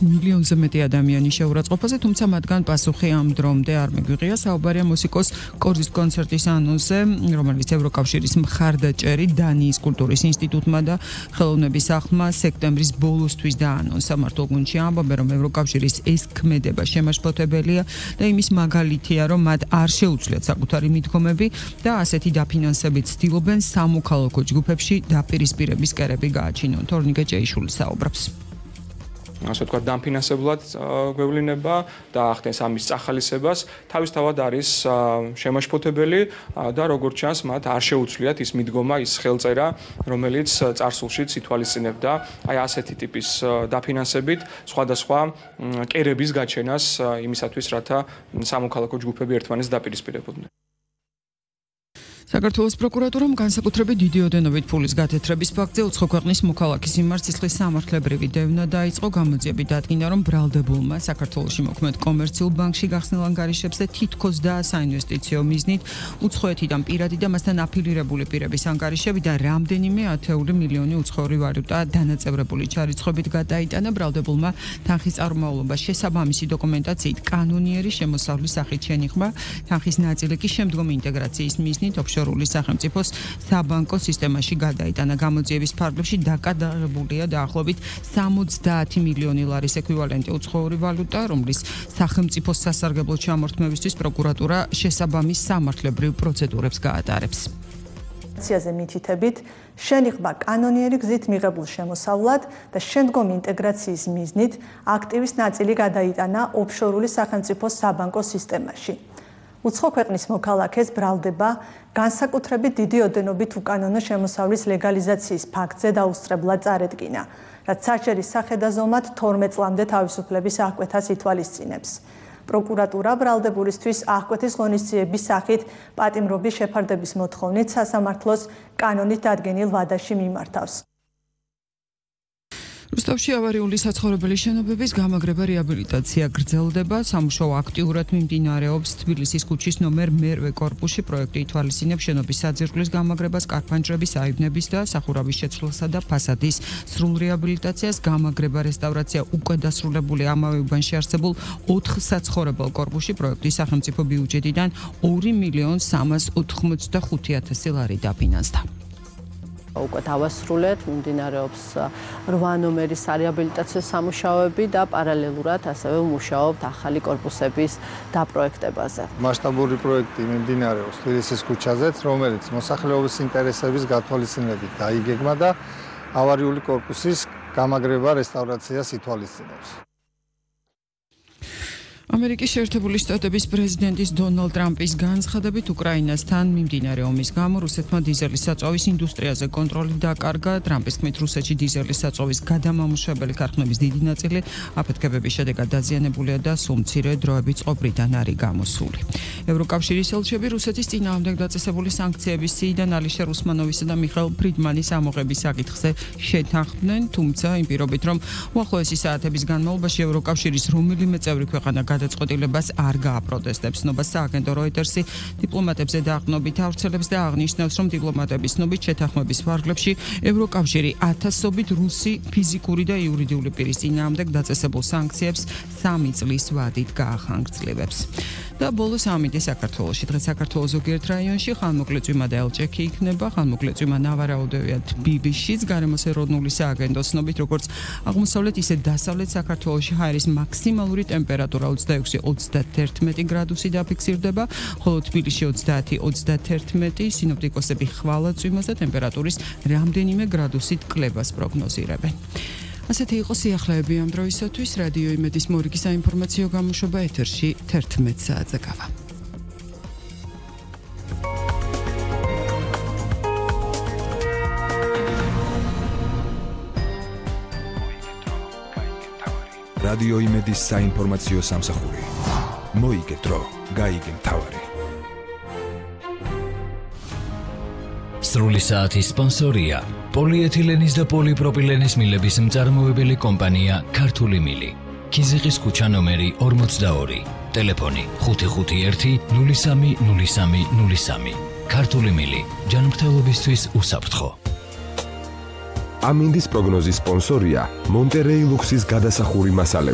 მილიონზე მეტი ადამიანი შეურაცხყოფაზე, თუმცა მათგან პასუხი ამ დრომდე არ მიგვიღია. საუბარია მუსიკოს კორზის კონცერტის ანონსზე, რომელიც ევროკავშირის მხარდაჭერი დანიის კულტურის ინსტიტუტმა და ხელოვნების სახლმა სექტემბრის ბოლოსთვის დაანონსა. მართლ გუნდში ამბობენ, რომ ევროკავშირის ეს ქმედება შემაშფოთებელია და იმის მაგალითია, რომ მათ არ შეუძლიათ საკუთარი მიდგომები და ასეთი დაფინანსებით ცდილობენ სამოქალაქო ჯგუფებში დაპირისპირების კერები გააჩინონ. თორნიკე ჭეიშვილი საუბრობს. ასე ვთქვათ, დამფინანსებლად გვევლინება და ახდენს ამის წახალისებას, თავისთავად არის შემაშფოთებელი და როგორც ჩანს, მათ არ შეუძლიათ ის მიდგომა, ის ხელწერა, რომელიც წარსულშიც ითვალისწინებდა აი ასეთი ტიპის დაფინანსებით სხვადასხვა კერების გაჩენას იმისათვის, რათა სამოქალაქო ჯგუფები ერთმანეთს დაპირისპირებოდნენ. საქართველოს პროკურატურამ განსაკუთრებით დიდი ოდენობით ფულის გათეთრების ფაქტზე უცხო ქვეყნის მოქალაქის მიმართ სისხლის სამართლებრივი დევნა დაიწყო. გამოძიებით დადგინდა, რომ ბრალდებულმა საქართველოში მოქმედ კომერციულ ბანკში გახსნილ ანგარიშებს და თითქოს და საინვესტიციო მიზნით უცხოეთიდან პირადი და მასთან აფილირებული პირების ანგარიშები და რამდენიმე ათეული მილიონი უცხოური ვალუტა დანაწევრებული ჩარიცხვებით გადაიტანა. ბრალდებულმა თანხის წარმომავლობა შესაბამისი დოკუმენტაციით კანონიერი შემოსავლის სახით შენიღმა. თანხის ნაწილი კი შემდგომი ინტეგრაციის მიზნით ოფშორული სახელმწიფოს საბანკო სისტემაში გადაიტანა. გამოძიების ფარგლებში დაკადაღებულია დაახლოებით 70 მილიონი ლარის ეკვივალენტი უცხოური ვალუტა, რომლის სახელმწიფოს სასარგებლო ჩამორთმევისთვის პროკურატურა შესაბამის სამართლებრივ პროცედურებს გაატარებს. ზე მითითებით შენიღმა კანონიერი გზით მიღებულ შემოსავლად და შემდგომი ინტეგრაციის მიზნით აქტივის ნაწილი გადაიტანა ოფშორული სახელმწიფოს საბანკო სისტემაში. უცხო ქვეყნის მოქალაქეს ბრალდება განსაკუთრებით დიდი ოდენობით უკანონო შემოსავლის ლეგალიზაციის ფაქტზე დაუსწრებლად წარედგინა, რაც საჭირის სახედაზომად 12 წლამდე თავისუფლების აღკვეთას ითვალისწინებს. პროკურატურა ბრალდებულისთვის აღკვეთის ღონისძიების სახით პატიმრობის შეფარდების მოთხოვნით სასამართლოს კანონით დადგენილ ვადაში მიმართავს. რუსთავში ავარიული საცხოვრებელი შენობების გამაგრება რეაბილიტაცია გრძელდება. სამუშაო აქტიურად მიმდინარეობს თბილისის ქუჩის ნომერ მერვე კორპუსში. პროექტი ითვალისწინებს შენობის საძირკვლის გამაგრებას, კარფანჯრების, აივნების და სახურავის შეცვლასა და ფასადის სრულ რეაბილიტაციას. გამაგრება, რესტავრაცია უკვე დასრულებული ამავე უბანში არსებულ 4 საცხოვრებელ კორპუსში. პროექტის სახელმწიფო ბიუჯეტიდან 2.385.000 ლარი დაფინანსდა. უკვე დავასრულეთ, მიმდინარეობს 8 ნომერის რეაბილიტაციო სამუშაოები და პარალელურად ასევე მუშაობთ ახალი კორპუსების დაპროექტებაზე. მასშტაბური პროექტი მიმდინარეობს თბილისის ქუჩაზეც, რომელიც მოსახლეობის ინტერესების გათვალისწინებით დაიგეგმა და ავარიული კორპუსის გამაგრება რესტავრაციას ითვალისწინებს. ამერიკის შეერთებული შტატების პრეზიდენტის დონალდ ტრამპის განცხადებით უკრაინასთან მიმდინარე ომის გამო რუსეთმა დიზელის საწვავის ინდუსტრიაზე კონტროლი დაკარგა. ტრამპის თქმით, რუსეთში დიზელის საწვავის გადამამუშავებელი ქარხნების დიდი ნაწილი აფეთქებების შედეგად დაზიანებულია და სულ მცირე დროებით წყობრიდან არის გამოსული. ევროკავშირის ელჩები რუსეთის წინააღმდეგ დაწესებული სანქციების სიიდან ალიშერ უსმანოვისა და მიხაილ ფრიდმანის ამოღების საკითხზე შეთანხმდნენ, თუმცა იმ პირობით, რომ უახლოესი საათების განმავლობაში ევროკავშირის რომელიმე წევრი ქვეყანა გადაწყვეტილებას არ გააპროტესტებს. ნობას სააგენტო როიტერსი დიპლომატებზე დაყრდნობით ავრცელებს და აღნიშნავს, რომ დიპლომატების ცნობით შეთანხმების ფარგლებში ევროკავშირი ათასობით რუსი ფიზიკური და იურიდიული პირის წინააღმდეგ დაწესებულ სანქციებს 3 წლის ვადით გაახანგრძლივებს. და ბოლოს ამინდი საქართველოში. დღეს საქართველოს ზოგიერთ რაიონში ხანმოკლეწვიმა და ელჭექი იქნება. ხანმოკლეწვიმა ნავარაუდევია თბილისშიც. გარემოს ეროვნული სააგენტოს ცნობით, როგორც აღმოსავლეთ, ისე დასავლეთ საქართველოში ჰაერის მაქსიმალური ტემპერატურა 26-31 გრადუსი დაფიქსირდება, ხოლო თბილისში 30-31. სინოპტიკოსები ხვალაწვიმას და ტემპერატურის რამდენიმე გრადუსით კლებას პროგნოზირებენ. ასეთი იყო სიახლეები ამ დროისათვის. რადიო იმედის მორიგი საინფორმაციო გამოშვება ეთერში 11 საათზე გავა. რადიო იმედის საინფორმაციო სამსახური. მოიგე დრო, გაიგე მთავარი. სრული საათის სპონსორია პოლიეთილენის და პოლიპროპილენის მილების მწარმოებელი კომპანია ქართული მილი. ქიზიყის ქუჩა ნომერი 42. ტელეფონი 551 03 03 03. ქართული მილი ჯანმრთელობისთვის უსაფრთხო. ამინდის პროგნოზის სპონსორია მონტერეი ლუქსის გადასახური მასალები.